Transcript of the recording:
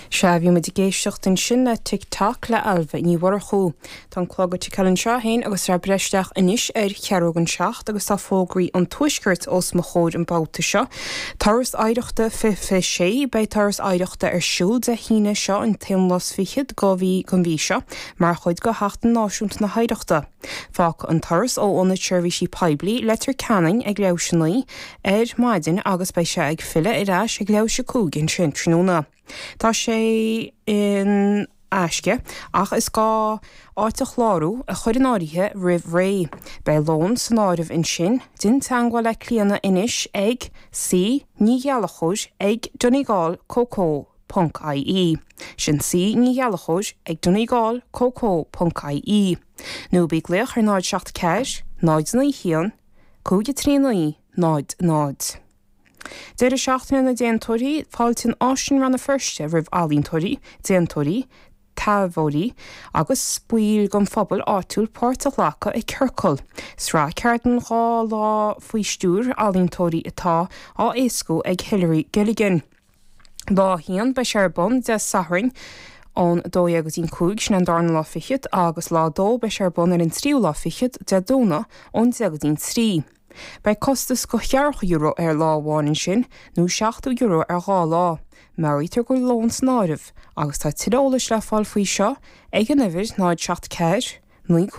Sea, bhí muid ag éisteacht ansin le Tick Tock le Ailbhe Ní Mhurchú. Tá an clog ag ticeáil anseo féin agus tá sé ag breith isteach anois ar cheathrú don seacht agus tá fógraí an Tuaiscirt os mo chomhair an babhta seo. Turas Oidhreachta 2026 Beidh Turas Oidhreachta ar siúl Dé hAoine seo an t-aon lá is fichead go mhí den mhí seo mar chuid de Sheachtain Náisiúnta na hOidhreachta. Fágfaidh an turas ó Ionad Seirbhísí Poiblí Leitir Ceanainn ag leathuair théis a naoi ar maidin agus beidh sé ag filleadh ar ais ag leathuair théis a cúig ansin tráthnóna. Tá sé in aisce ach is gá áit a chlárú, a chur in áirithe roimh ré. Beidh lón san áireamh ansin. Déan teagmháil le Clíona anois ag C Ní Ghallchóir ag Donegal co co ponc ie. Sin C Ní Ghallchóir ag Donegal co co ponc ie. Nó bí ag glaoch ar 0 7 4 0 9 1 5 3 9 0 0. Deireadh seachtaine na déantóirí, Fáiltíonn Áislann Rann na Feirste roimh ealaíontóirí, déantóirí, taibheoirí agus baill den phobal áitiúil páirt a ghlacadh i Ciorcal, sraith ceardlann 2 lá faoi stiúir ealaíontóirí atá á éascú ag Hilary Gilligan. Lá 1, beidh sé ar bun Dé Sathairn ón 12 go dtí an 5, sin an darna lá fichead, agus lá 2, beidh sé ar bun ar an tríú lá fichead, Dé Domhnaigh, ón 10 go dtí an 3. Beidh costas de cheathracha euro ar lá amháin ansin, nó €70 ar dhá lá. Meabhraítear go bhfuil lón san áireamh, agus tá tuilleadh eolais le fáil faoi seo ag an uimhir 0 7 4 9.